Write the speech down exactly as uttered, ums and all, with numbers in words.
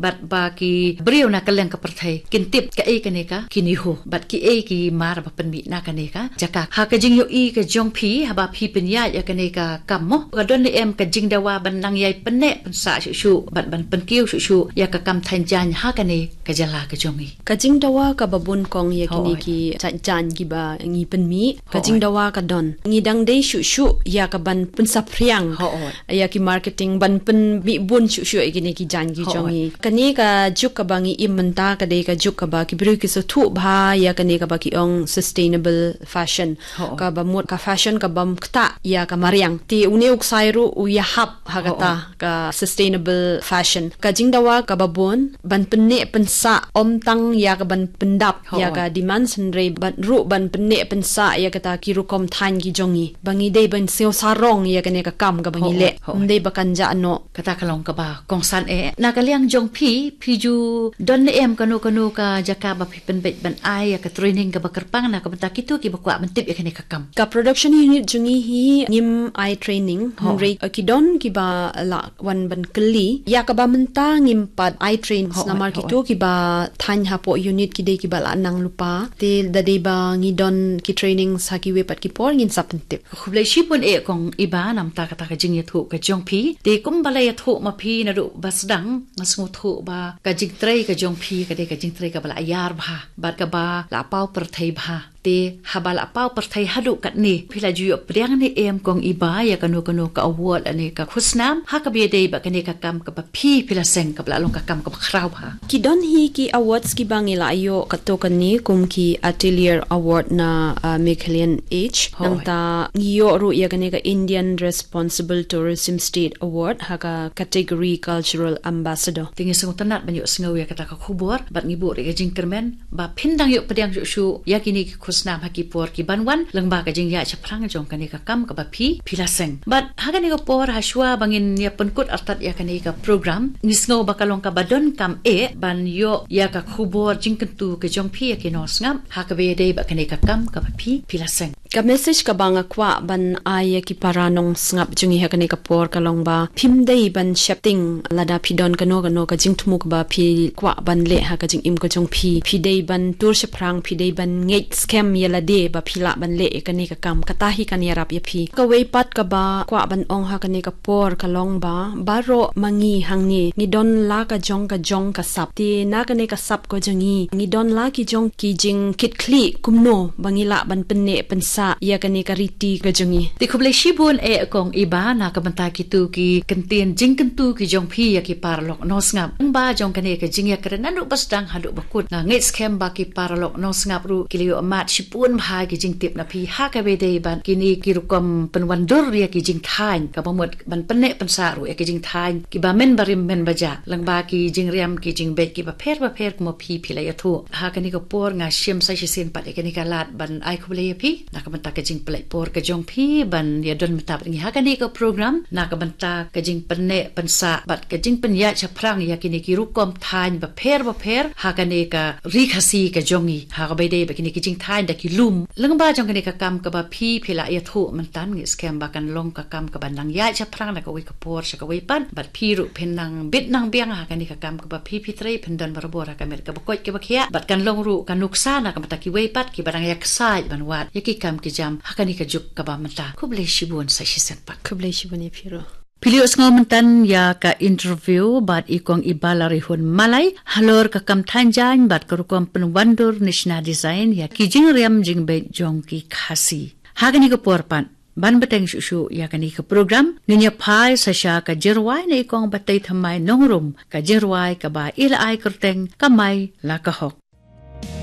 bad ba ki briew na ka liang ka pyrthei kin tip kaei kane ka KINEHO bad kiei ki mar ba pynmih na kane ka jaka. Ha ka jingïohi ka jong phi, haba phi pynïaid ïa kane ka kam mo, ka don ne em ka jingdawa ban nang ïai pynneh pynsah shuh shuh bad ban pynkiew shuh shuh ïa ka kam thaiñ jaiñ ha kane ka jylla ka jong ngi? Ka jingdawa kaba bun kong ïa kine ki jaiñ kiba ngi pynmih, ka jingdawa ka don. Ngi dang dei shuh shuh ïa ka ban pynsaphriang ïa ki marketing, ban pynmih bun shuh shuh ïa kine ki jaiñ ki jong ngi. Kane ka juk kaba ngi im mynta ka dei ka juk kaba ki briew ki sngewthuh bha ïa kane kaba ki ong sustainable fashion. Kaba mut ka fashion ka bym ktah ïa ka mariang. Te une u ksai ruh u ïahap ha kata ka sustainable fashion. Ka jingdawa kaba bun ban pynneh pynsah ym tang ïa ka ban pyndap ïa ka demand, hynrei ban ruh ban pynneh pynsah ïa kata ki rukom thaiñ ki jong ngi, ba ngi dei ban sngewsarong ïa kane ka kam kaba ngi leh. Ym dei ba kan jah noh. Kata ka long kaba kongsan eh. Na ka liang jong phi, phi ju don ne em kano kano ka jaka ba phi pynbeit ban ai ïa ka training kaba kyrpang na ka bynta kito kiba kwah ban tip ïa kane ka kam? Ka production unit jong ngi hi ngim ai training, hynrei ki don kiba lah wan ban kylli. Ïa kaba mynta ngim pat ai training namar kito kiba thaiñ hapoh unit ki dei kiba lah nang lypa. Te da dei ba ngi don ki training ha kiwei pat ki por ngin sa pyntip. Khublei shibun eh kong Iba namar kata ka jingïathuh ka jong phi. Te kumba la ïathuh ma phi naduh ba sdang, nga sngewthuh ba ka jingtrei ka jong phi ka dei ka jingtrei kaba la ïar bha bad kaba la paw pyrthei bha. Te haba la paw pyrthei haduh katne, phi la ju ïoh pdiang ne em kong Iba ïa kano kano ka award ne ka khusnam ha kaba ïadei bad kane ka kam kaba phi, phi la seng kaba la long ka kam kaba khraw bha? Ki don hi ki awards kiba ngi la ïoh katto katne, kum ki Atelier Award na, ah, Meghalayan Age. Nangta ngi ïoh ruh ïa kane ka Indian Responsible Tourism State Award ha ka category Cultural Ambassador. Te ngi sngewtynnat ban ïohsngew ïa kata ka khubor bad ngi buh ruh ïa ka jingkyrmen ba phin dang ïoh pdiang shuh shuh ïa kine ki khusnam ha ki por kiban wan lyngba ka jingïaid shaphrang jong kane ka kam kaba phi, phi la seng. Bad ha kane ka por, ha shuwa ba ngin ïa pynkut artat ïa kane ka program, ngi sngew ba ka long kaba donkam eh ban ïoh ïa ka khubor jingkyntu ka jong phi ïa ki nongsngap ha kaba ïadei bad kane ka kam kaba phi, phi la seng. Ka message kaba nga kwah ban ai ïa ki para nongsngap jong ngi ha kane ka por ka long ba phim dei ban sheptieng lada phi don kano kano ka jingthmu kaba phi kwah ban leh ha ka jingim ka jong phi. Phi dei ban tur shaphrang, phi dei ban ngeit skhem ïa lade ba phi lah ban leh ïa kane ka kam. Kata hi kan ïarap ïa phi. Kawei pat kaba kwah ban ong ha kane ka por ka long ba baroh ma ngi hangne ngi don la ka jong ka jong ka sap. Te na kane ka sap ka jong ngi, ngi don la ki jong ki jingkitkhlieh kumno ba ngi lah ban pynneh pynsah ïa kane ka riti ka jong ngi. Te khublei shibun eh kong Iba na ka bynta kito ki kyntien jingkyntu ki jong phi ïa ki paralok nongsngap. Lyngba jong kane ka jingïakren naduh ba sdang haduh ba kut, nga ngeit skhem ba ki paralok nongsngap ruh ki la ïoh mad shibun bha ki jingtip na phi ha kaba ïadei bad kine ki rukom pynwandur ïa ki jingthaiñ, kaba mut ban pynneh pynsah ruh ïa ki jingthaiñ kiba men barim men baja lyngba ki jingriam ki jingbeit kiba pher bapher kumba phi, phi la ïathuh. Ha kane ka por nga shim sa shisien pat ïa kane ka lad ban ai khublei ïa phi na ka bynta ka jingpynlait por ka jong phi ban ïadon bynta bad ngi ha kane ka program na ka bynta ka jingpynneh pynsah bad ka jingpynïaid shaphrang ïa kine ki rukom thaiñ bapher bapher ha kane ka ri Khasi ka jong ngi, ha kaba ïadei bad kine ki jingthaiñ da ki lum. Lyngba jong kane ka kam kaba phi, phi la ïathuh mynta, ngi skhem ba kan long ka kam kaba nang ïaid shaphrang na kawei ka por sha kawei pat, bad phi ruh phin nang bit nang biang ha kane ka kam kaba phi, phi trei, phin don barabor ha ka met kaba koit kaba khiah, bad kan long ruh ka nuksa na ka bynta kiwei pat kiba dang ïaksaid ban wad ïa ki kam ki jam ha kane ka juk kaba mynta. Khublei shibun sa shisien pat. Khublei shibun ïa phi ruh. Phi la ïohsngew mynta ïa ka interview bad i kong Iba Larihun Malai halor ka kam thaiñ jaiñ bad ka rukom pynwandur Nishna Design ïa ki jingriam jingbeit jong ki Khasi. Ha kane ka por pat, ban bteng shuh shuh ïa kane ka program, ngin ïa phai sa sha ka jingrwai na i kong Batei Thymmai Nongrum, ka jingrwai kaba i la ai kyrteng Kamai La Ka Hok.